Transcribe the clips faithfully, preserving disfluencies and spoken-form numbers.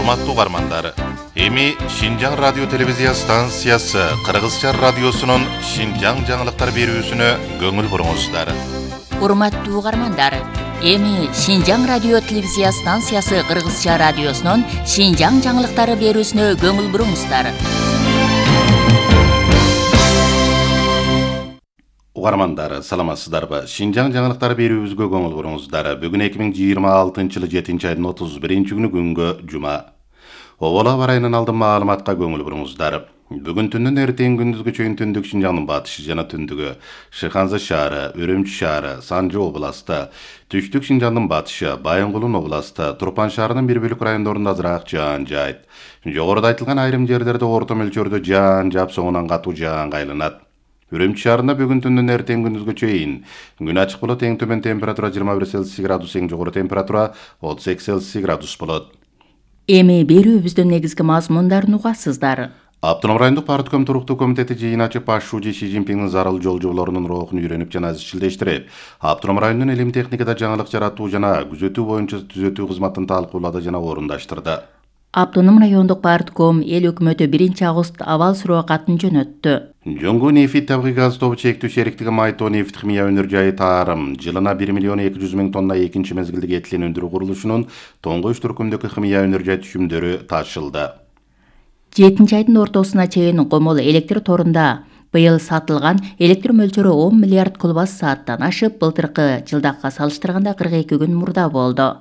Урматтуу угармандар, эми Шинжаң радио телевизия станциясы Кыргызча радиосунун Шинжаң жаңылыктар берүүсүнө көңүл буруңуздар. Урматтуу угармандар, эми Шинжаң радио телевизия станциясы Кыргызча радиосунун Шинжаң жаңылыктары берүүсүнө көңүл буруңуздар. Угармандар, саламатсыздарбы? Шинжаң жаңылыктары берүүбүзгө көңүл буруңуздар. Бүгүн эки миң жыйырма алтынчы жылы жетинчи айдын отуз биринчи күнү күнгө жума. Обола барайынан алдын маалыматка көңүл буруңуздар. Бүгүн түндүн эртең күндүзгү чейин түндүк Шинжаңдын батышы жана түндүгү, Шыханза шаары, Үрүмчү шаары, Санжы областы, түштүк Шинжаңдын батышы, Байынгулун областы, Турпан шаарынын бир бөлүк райондорунда азыраак жаан жаайт. Жогоруда айтылган айрым жерлерде орто мөлчөрдө жаан жаап, соңунан катуу жаанга айланат. Үрүмчү шаарында бүгүн түндүн эртең күндүзгү чейин күн ачык болот, эң төмөн температура жыйырма бир Цельсий градус, эң жогору температура отуз эки Цельсий градус болот. Эми берүүбүздүн негизги мазмундарын угасыздар. Автоном райондук партком туруктуу комитети жыйын ачып, Пашшужи Ши Цзиньпиндин зарыл жолжоболорунун рухун үйрөнүп жана изчилдештирип, автоном райондун илим техникада жаңылык жаратуу жана күзөтүү боюнча түзөтүү кызматын талкуулады жана орундаштырды. Автоном райондук партком эл өкмөтү биринчи август абал суроо катын жөнөттү. Жоңгу нефит табигый газ тобу чектүү шериктиги Майто нефт химия өнөр жайы Таарым жылына бир миллион эки жүз миң тонна экинчи мезгилдик этилен өндүрүү курулушунун тоңгоч түркүмдөгү химия өнөр жай түшүмдөрү ташылды. жетинчи айдын ортосуна чейин Комол электр торунда быйыл сатылган электр мөлчөрү он миллиард куб сааттан ашып, былтыркы жылдакка салыштырганда кырк эки күн мурда болду.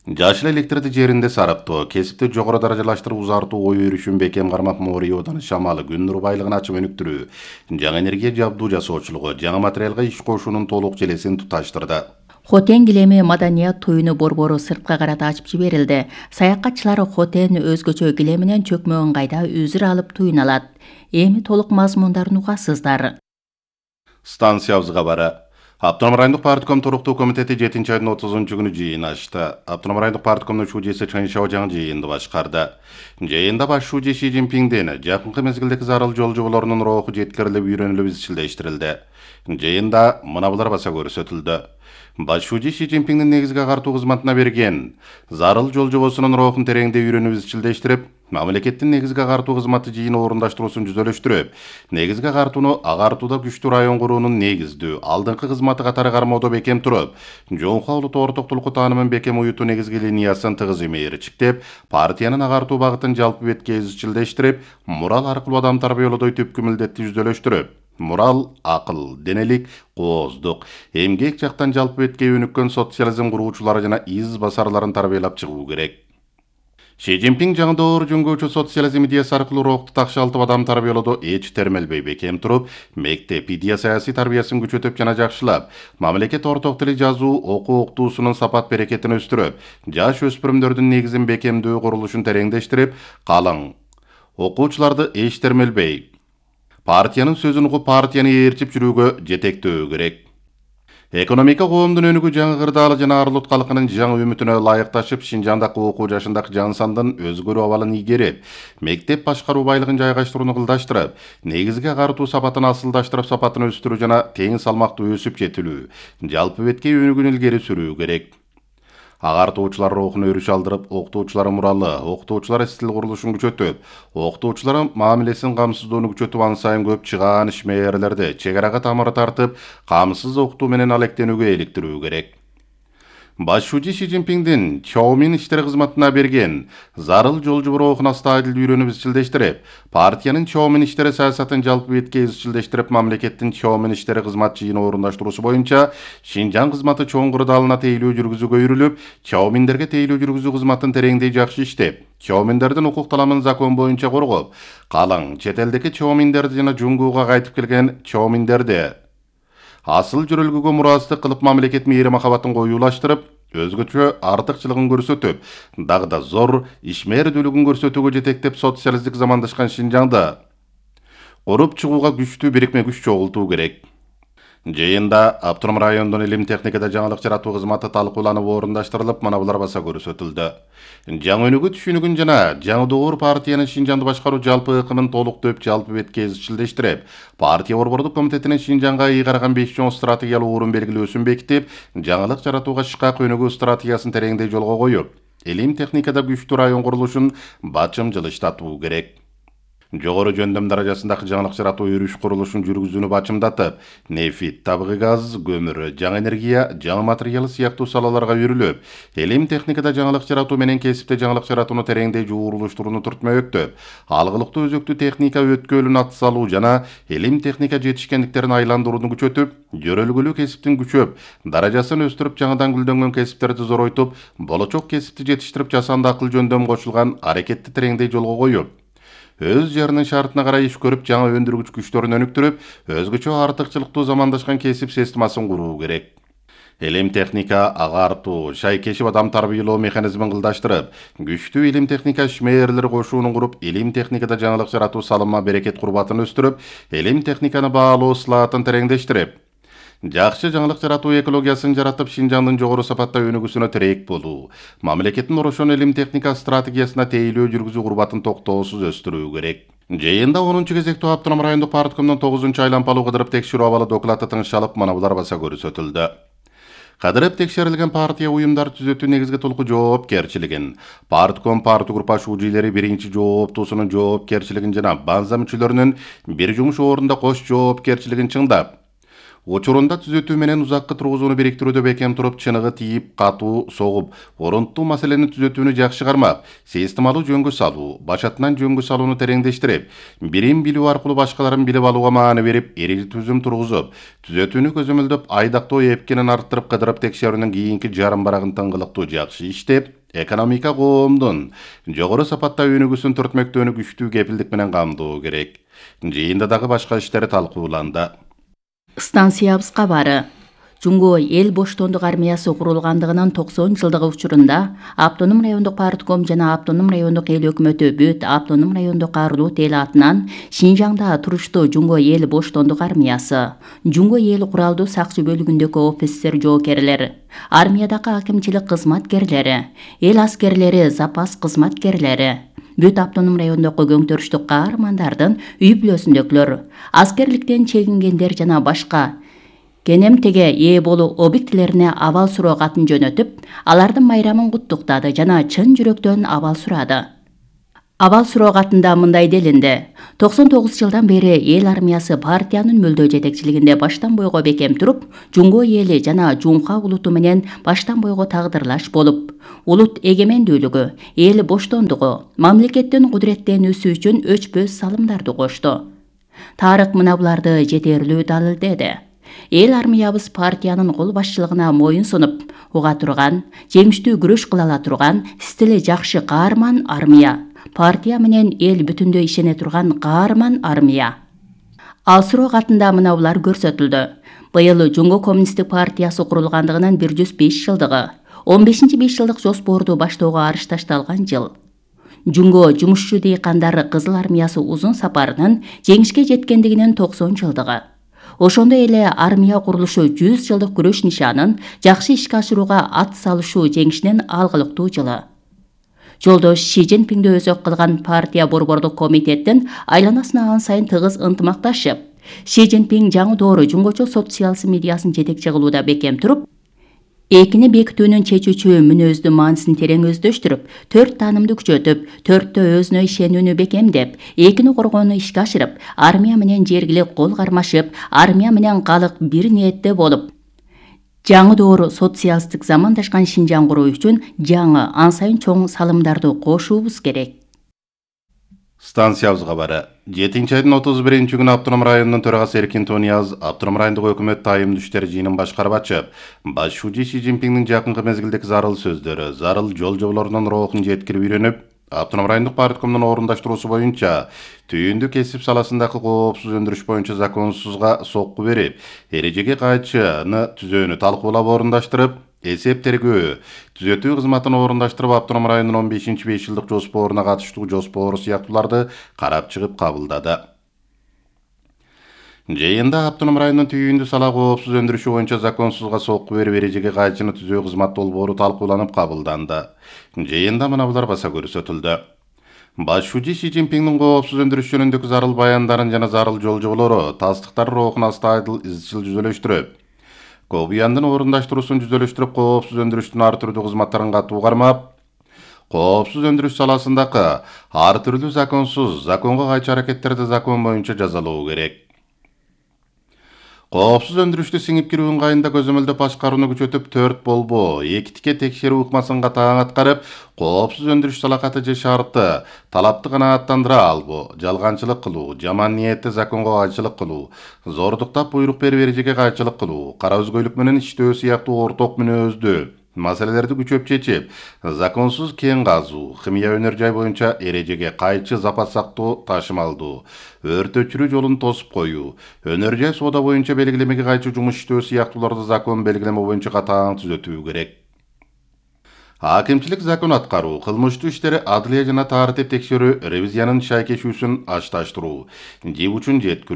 Жашыл электрди жеринде сараптоо, кесипти жогору даражалаштырып узартуу ой өрүшүн бекем кармак моори одан шамалы күн нуру байлыгын ачып өнүктүрүү, жаңы энергия жабдуу жасоочулугу, жаңы материалга иш кошуунун толук желесин туташтырды. Хотен килеми маданият туюну борбору сыртка карата ачып жиберилди. Саякатчылар Хотен өзгөчө килеминен чөкмө ыңгайда үзүр алып туюн алат. Эми толук мазмундарын угасыздар. Станциябызга бары. Автоном райондук партком туруктуу комитети жетинчи айдын отузунчу күнү жыйын ачты. Автоном райондук парткомдун шужесі Чын Шао жаңы жыйынды башкарды. Жыйында Пашшужи Ши Цзиньпиндин жакынкы мезгилдеги зарыл жолжоболорунун руху жеткирилип, үйрөнүлүп, изчилдештирилди. Жыйында мына булар баса көрсөтүлдү. Пашшужи Ши Цзиньпиндин негизги агартуу кызматына берген зарыл жолжобосунун рухун тереңде үйрөнүп, изчилдештирип, мамлекеттин негизги агартуу кызматы жыйын орундаштыруусун жүзөлөштүрүп, негизги агартууну агартууда күчтүү район куруунун негиздүү, алдыңкы кызматы катары кармоодо бекем туруп, жоңку улуттук ортоктулукку таанымын бекем уютуу негизги линиясын тыгыз имээрчиктеп, партиянын агартуу багытын жалпы бетке изчилдештирип, мурал аркылуу адам тарбиялоодой түпкү милдетти жүзөлөштүрүп, мурал, акыл, денелик, кооздук, эмгек жактан жалпы бетке өнүккөн социализм куруучулары жана из басарларын тарбиялап чыгуу керек. Ши Цзиньпин жаңы доор жөнгөөчү социализм идеясы аркылуу рухту такшалтып адам тарбиялоодо эч термелбей бекем туруп, мектеп идея саясий тарбиясын күчөтүп жана жакшылап, мамлекет орток тили жазуу, окуу октуусунун сапат берекетин өстүрүп, жаш өспүрүмдөрдүн негизин бекемдөө курулушун тереңдештирип, калың окуучуларды эч термелбей, партиянын сөзүн угуп, партияны ээрчип жүрүүгө жетектөө керек. Экономика коомдун өнүгүү жаңы кырдаалы жана арылут калкынын жаңы үмүтүнө ылайыкташып, Шинжаңдагы окуу жашындагы жан сандын өзгөрүү абалын ийгерип, мектеп башкаруу байлыгын жайгаштырууну кылдаштырып, негизги агартуу сапатын асылдаштырып, сапатын өстүрүү жана тең салмактуу өсүп жетилүү, жалпы бетке өнүгүүнү илгери сүрүү керек. Агартуучулар рухуна өрүш алдырып, окутуучулар муралы, окутуучулар стил курулушун күчөтүп, окутуучулар мамилесин камсыздоону күчөтүп, ан сайын көп чыгаан ишмерлерди чек арага тамыры тартып, камсыз окутуу менен алектенүүгө иликтирүү керек. Пашшужи Ши Цзиньпиндин Чоумин иштери кызматына берген зарыл жолжобо рухуна стадил үйрөнүп, изчилдештирип, партиянын Чоумин иштери саясатын жалпы бетке изчилдештирип, мамлекеттин Чоумин иштери кызмат жыйын орундаштыруусу боюнча Шинжаң кызматы чоң кырдаалына тейлөө жүргүзүүгө үйрүлүп, Чоуминдерге тейлөө жүргүзүү кызматын тереңдей жакшы иштеп, Чоуминдердин укук таламын закон боюнча коргоп, калың чет элдеги Чоуминдерди жана Жуңгууга кайтып келген Чоуминдерди асыл жүрөлгүгө мурастык кылып, мамлекет мээри махабатын коюулаштырып, өзгөчө артыкчылыгын көрсөтүп, дагы да зор ишмердүүлүгүн көрсөтүүгө жетектеп, социалисттик замандашкан Шинжаңды куруп чыгууга күчтүү бирикме күч чогултуу керек. Жыйында Автоном райондун илим техникада жаңылык жаратуу кызматы талкууланып, орундаштырылып, мана булар баса көрсөтүлдү. Жаңы өнүгүү түшүнүгүн жана жаңы доор партиянын Шинжаңды башкаруу жалпы ыкымын толуктоп, жалпы бетке изчилдештирип, партия борбордук комитетинин Шинжаңга ый караган беш чоң стратегиялык орун белгилөөсүн бекитип, жаңылык жаратууга шыкак өнүгүү стратегиясын тереңдей жолго коюп, элим техникада күчтүү район курулушун бачым жылыштатуу керек. Жогору жөндөм даражасындагы жаңылык жаратуу өрүш курулушун жүргүзүүнү бачымдатып, нефит, табигый газ, көмүр, жаңы энергия, жаңы материал сыяктуу салаларга үйрүлүп, элим техникада жаңылык жаратуу менен кесипте жаңылык жаратууну тереңдей жуурулуштурууну түртмөктөп, алгылыктуу өзөктүү техника өткөлүн ат салуу жана элим техника жетишкендиктерин айландырууну күчөтүп, жөрөлгүлүү кесиптин күчөп, даражасын өстүрүп, жаңыдан гүлдөнгөн кесиптерди зоройтуп, болочок кесипти жетиштирип жасанды акыл жөндөм кошулган аракетти тереңдей жолго коюп, өз жеринин шартына карай иш көрүп, жаңы өндүргүч күчтөрүн өнүктүрүп, өзгөчө артыкчылыктуу замандашкан кесип системасын куруу керек. Элим техника агартуу, шайкешип адам тарбиялоо механизмин кылдаштырып, күчтүү элим техника ишмээрлери кошуунун куруп, элим техникада жаңылык жаратуу салымма берекет курбатын өстүрүп, элим техниканы баалоо слаатын тереңдештирип, жакшы жаңылык жаратуу экологиясын жаратып, Шинжаңдын жогору сапатта өнүгүүсүнө тирек болуу, мамлекеттин орошон элим техника стратегиясына тейлөө жүргүзүү курбатын токтоосуз өстүрүү керек. Жыйында онунчу кезектүү Автоном райондук парткомдун тогузунчу айланпалуу кыдырып текшерүү абалы доклаты тыңшалып, манабулар баса көрсөтүлдү. Кадырып текшерилген партия уюмдар түзөтүү негизги толку жоопкерчилигин, партком парты группа шужийлери биринчи жооптуусунун жоопкерчилигин жана банза мүчөлөрүнүн бир жумуш орунда кош жоопкерчилигин чыңдап, учурунда түзөтүү менен узаккы тургузууну бириктирүүдө бекем туруп, чыныгы тийип, катуу согуп, орунттуу маселени түзөтүүнү жакшы кармап, системалуу жөнгө салуу, башатынан жөнгө салууну тереңдештирип, бирин билүү аркылуу башкаларын билип алууга маани берип, эрил түзүм тургузуп, түзөтүүнү көзөмөлдөп, айдактоо эпкенин арттырып, кыдырып текшерүүнүн кийинки жарым барагын тыңгылыктуу жакшы иштеп, экономика коомдун жогору сапатта өнүгүүсүн түртмөктөөнү күчтүү кепилдик менен камдоо керек. Жыйында дагы башка иштер талкууланды. Станциябыз кабары. Жунго эл боштондук армиясы курулгандыгынын токсон жылдыгы учурунда Автоном райондук партком жана Автоном райондук эл өкмөтү бүт Автоном райондук арулут эл атынан Шинжаңда туруштуу Жунго эл боштондук армиясы, Жунго эл куралдуу сакчы бөлүгүндөгү офицер жоокерлер, армиядагы акимчилик кызматкерлери, эл аскерлери, запас кызматкерлери, бүт Автоном райондогу көңтөрүштүк каармандардын үй бүлөсүндөгүлөр, аскерликтен чегингендер жана башка кенемтеге ээ болуу объектилерине абал суроо катын жөнөтүп, алардын майрамын куттуктады жана чын жүрөктөн абал сурады. Абал суроо катында мындай делинди: токсон тогуз жылдан бери эл армиясы партиянын мөлдөө жетекчилигинде баштан бойго бекем туруп, Жунго эли жана Жунха улуту менен баштан бойго тагдырлаш болуп, улут эгемендүүлүгү, эл боштондугу, мамлекеттин кудуреттенүүсү үчүн өчпөс салымдарды кошту. Тарых мына буларды жетерлүү далилдеди. Эл армиябыз партиянын кол башчылыгына моюн сунуп, уга турган, жеңиштүү күрөш кыла ала турган, стили жакшы каарман армия, партия менен эл бүтүндөй ишене турган каарман армия. Ал суроо катында мына булар көрсөтүлдү. Быйыл Жунго коммунисттик партиясы курулгандыгынын бир жүз беш жылдыгы, он бешинчи беш жылдык жоспорду баштоого арыш ташталган жыл. Жунго жумушчу дыйкандары Кызыл армиясы узун сапарынын жеңишке жеткендигинин токсон жылдыгы. Ошондой эле армия курулушу жүз жылдык күрөш нишанын жакшы ишке ашырууга ат салышуу жеңишинин алгылыктуу жылы. Жолдош Ши Цзиньпиңди өзөк кылган партия борбордук комитеттин айланасына ан сайын тыгыз ынтымакташып, Ши Цзиньпиң жаңы доору жунгочо социализм идеясын жетекчи кылууда бекем туруп, экини бекитүүнүн чечүүчү мүнөздү маанисин терең өздөштүрүп, төрт таанымды күчөтүп, төрттө өзүнө ишенүүнү бекемдеп, экини коргоону ишке ашырып, армия менен жергилик кол кармашып, армия менен калк бир ниетте болуп, жаңы доору социалисттик замандашкан Шинжаң куруу үчүн жаңы, ан сайын чоң салымдарды кошуубуз керек. Станциябыз кабары. жетинчи айдын отуз биринчи күнү Автоном районунун төрагасы Эркин Тонияз Автоном райондук өкмөт тайымдуу иштер жыйынын башкарып ачып, баш шужи Ши Цзиньпиңдин жакынкы мезгилдеги зарыл сөздөрү, зарыл жол жоболорунун рухун жеткирип үйрөнүп, Автоном райондук парткомдун орундаштыруусу боюнча түйүндү кесип саласындагы коопсуз өндүрүш боюнча законсузга сокку берип, эрежеге кайчыны түзөөнү талкуулап орундаштырып, эсеп тергөө, түзөтүү кызматын орундаштырып, Автоном районунун он бешинчи беш жылдык жоспоруна катыштуу жоспору сыяктууларды карап чыгып кабылдады. Жыйында Автоном районунун түйүндү сала коопсуз өндүрүшү боюнча законсузга сокку берип, эрежеге кайчыны түзөө кызмат долбоору талкууланып кабылданды. Жыйында мына булар баса көрсөтүлдү. Баш шужи Ши Цзиньпиңдин коопсуз өндүрүш жөнүндөгү зарыл баяндарын жана зарыл жол жоболору, тастыктар рухун астайдыл изчил жүзөлөштүрүп, Кобуяндын орундаштыруусун жүзөлөштүрүп, коопсуз өндүрүштүн ар түрдүү кызматтарын катуу кармап, коопсуз өндүрүш саласындагы ар түрдүү законсуз, законго кайчы аракеттерди закон боюнча жазалоо керек. Коопсуз өндүрүштү сиңип кирүү ыңгайында көзөмөлдөп башкарууну күчөтүп, төрт болбоо, эки тике текшерүү ыкмасын катаң аткарып, коопсуз өндүрүш салакаты же шарты, талапты канааттандыра албоо, жалганчылык кылуу, жаман ниетте законго кайчылык кылуу, зордуктап буйрук берип эрежеге кайчылык кылуу, кара өзгөйлүк менен иштөө сыяктуу орток мүнөздүү маселелерди күчөп чечип, законсуз кен казуу, химия өнөр жай боюнча эрежеге кайчы запас сактоо, ташымалдоо, өрт өчүрүү жолун тосуп коюу, өнөр жай соода боюнча белгилемеге кайчы жумуш иштөө сыяктууларды закон белгилеме боюнча катаң түзөтүү керек. Акимчилик закон аткаруу, кылмыштуу иштери адылия жана тартип текшерүү, ревизиянын шайкешүүсүн ашташтыруу, жиб учун жеткирүү,